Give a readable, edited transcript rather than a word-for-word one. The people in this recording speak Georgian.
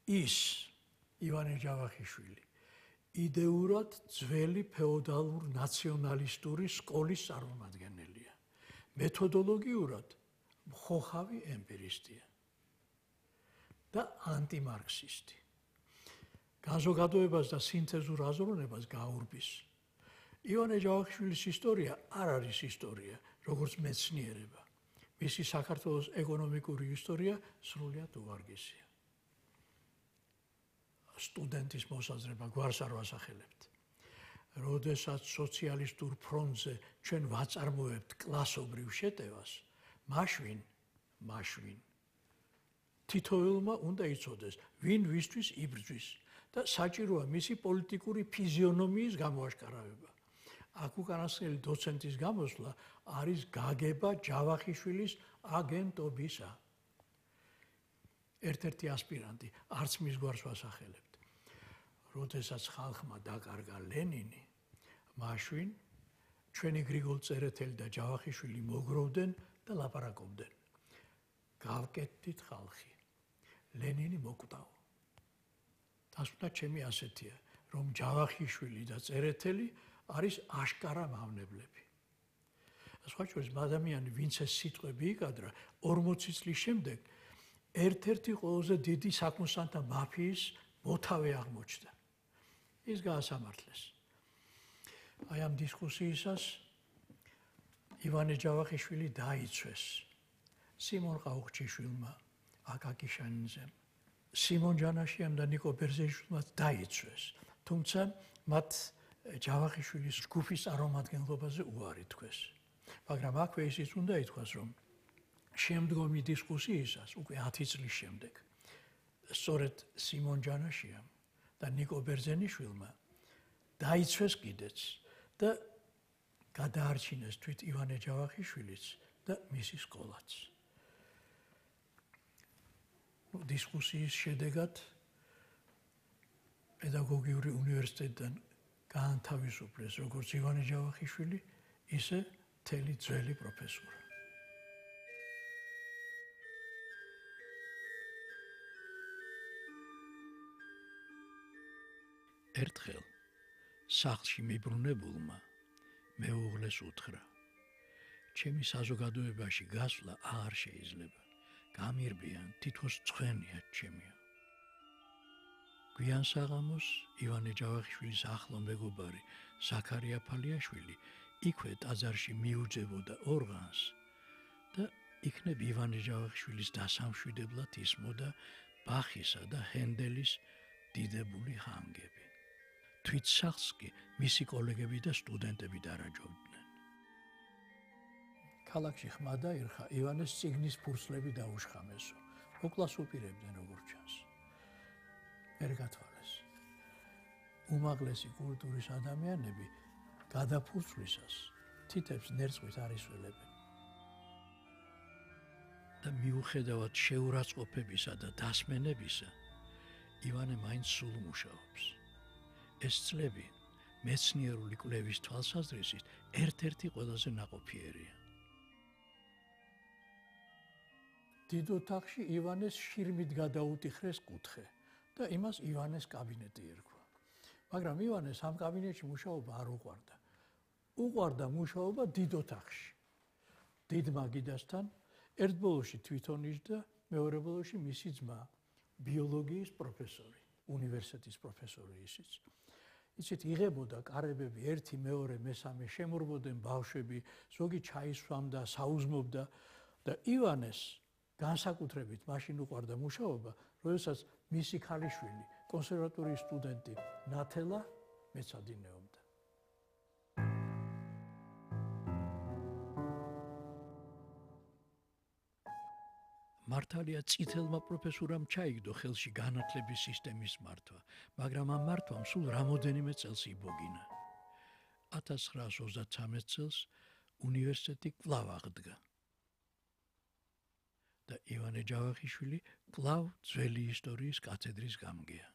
ის ივანე ჯავახიშვილი იდეურად ძველი ფეოდალურ ნაციონალისტური სკოლის წარმომადგენელია. მეთოდოლოგიურად მხოხავი ემპირისტია და ანტიმარქსისტი. განზოგადოებას და სინთეზურ აზროვნებას გაურბის. ივანე ჯავახიშვილის ისტორია არ არის ისტორია, როგორც მეცნიერება. მისი საქართველოს ეკონომიკური ისტორია სრულიად უვარგისია. სტუდენტის მოსაზრება გვარს არ ვასახელებთ. როდესაც სოციალისტურ ფრონტზე ჩვენ ვაწარმოებთ კლასობრივ შეტევას, მაშინ თითოეულმა უნდა იცოდეს, ვინ ვისთვის იბრძვის და საჭიროა მისი პოლიტიკური ფიზიონომიის გამოაშკარავება. აქ უკანასკნელი დოცენტის გამოსვლა არის გაგება ჯავახიშვილის აგენტობისა. ერთ-ერთი ასპირანტი, არც მის გვარს ვასახელებთ. როდესაც ხალხმა დაკარგა ლენინი, მაშინ ჩვენი გრიგოლ წერეთელი და ჯავახიშვილი მოგროვდნენ და ლაპარაკობდნენ. გავკეთდით ხალხი. ლენინი მოკვდაო. დასკვნა ჩემი ასეთია, რომ ჯავახიშვილი და წერეთელი არის აშკარა მავნებლები. სხვა შორის ადამიანი, ვინც ეს სიტყვები იკადრა, 40 წლის შემდეგ ერთ-ერთი ყველაზე დიდი საკონსტანტა მაფიის მოთავე აღმოჩნდა. ის გაასამართლეს. აი ამ დისკუსიისას ივანე ჯავახიშვილი დაიცვეს სიმონ ყაუხჩიშვილმა, აკაკი შანინძემ, სიმონ ჯანაშიამ და ნიკო ბერძეშვილმა დაიცვეს. თუმცა მათ ჯავახიშვილის ჯგუფის წარმომადგენლობაზე უარი თქვეს. მაგრამ აქვე ისიც უნდა ითქვას, რომ შემდგომი დისკუსიისას, უკვე 10 წლის შემდეგ, სწორედ სიმონ ჯანაშიამ და ნიკო ბერძენიშვილმა დაიცვეს კიდეც და გადაარჩინეს თვით ივანე ჯავახიშვილიც და მისი სკოლაც. დისკუსიის შედეგად პედაგოგიური უნივერსიტეტიდან გაანთავისუფლეს როგორც ივანე ჯავახიშვილი, ისე მთელი ძველი პროფესორა. ერთხელ სახლში მიბრუნებულმა მეუღლეს უთხრა: ჩემი საზოგადოებაში გასვლა არ შეიძლება. გამირბიან, თითქოს ცხენია ჩემია. გვიან საღამოს ივანე ჯავახიშვილის ახლო მეგობარი ზაქარია ფალიაშვილი იქვე ტაძარში მიუძებოდა ორღანს და იქნებ ივანე ჯავახიშვილის დასამშვიდებლად ისმოდა ბახისა და ჰენდელის დიდებული ხანგები. თვით სახლს კი მისი კოლეგები და სტუდენტები დარაჯობდნენ. ქალაქში ხმა დაირხა, ივანეს წიგნის ფურცლები დაუშხამესო. მოკლას უპირებდნენ როგორც ჩანს. ვერ გათვალეს. უმაღლესი კულტურის ადამიანები გადაფურცვლისას თითებს ნერწყვით არ ისველებენ. და მიუხედავად შეურაცხყოფებისა და დასმენებისა, ივანე მაინც სულ მუშაობს. ეს წლები მეცნიერული კვლევის თვალსაზრისით ერთ-ერთი ყველაზე ნაყოფიერია. დიდ ოთახში ივანეს შირმით გადაუტიხრეს კუთხე და იმას ივანეს კაბინეტი ერქვა. მაგრამ ივანეს ამ კაბინეტში მუშაობა არ უყვარდა. უყვარდა მუშაობა დიდ ოთახში. დიდ მაგიდასთან ერთ ბოლოში თვითონ იჯდა, მეორე ბოლოში მისი ძმა, ბიოლოგიის პროფესორი, უნივერსიტეტის პროფესორი ისიც. იცით, იღებოდა კარებები ერთი, მეორე, მესამე, შემორბოდნენ ბავშვები, ზოგი ჩაისვამდა, საუზმობდა და ივანეს განსაკუთრებით მაშინ უყვარდა მუშაობა, როდესაც მისი ქალიშვილი, კონსერვატორიის სტუდენტი ნათელა მეცადინეობდა. მართალია წითელმა პროფესორამ ჩაიგდო ხელში განათლების სისტემის მართვა, მაგრამ ამ მართვამ სულ რამოდენიმე წელს იბოგინა. 1933 წელს უნივერსიტეტი კვლავ აღდგა. და ივანე ჯავახიშვილი კვლავ ძველი ისტორიის კათედრის გამგეა.